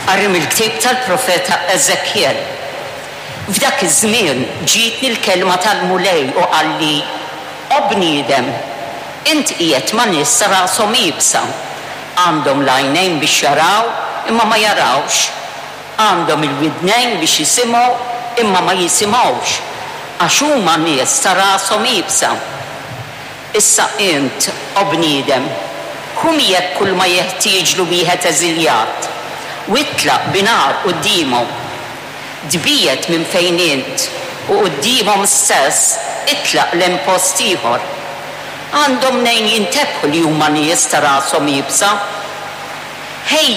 Qari mill-ktieb tal-profeta Eżekjel. F'dak iż-żmien ġietni l-kelma tal-Mulej u qalli, O bniedem, int qiegħed ma' nies ta' rashom iebsa. Għandhom l-għajnejn biex jaraw, imma ma jarawx. Għandhom il-widnejn biex jisimgħu, imma ma jisimgħux, għax huma nies ta' rashom iebsa. Issa int, O bniedem, ħu miegħek kulma jeħtieġlu wieħed eżiljat, u itlaq bi nhar quddiemhom. Tbiegħed minn fejn int, u quddiemhom stess itlaq 'l hemm post ieħor. Għandhom mnejn jintebħu li huma nies ta' rashom iebsa. Ħejji.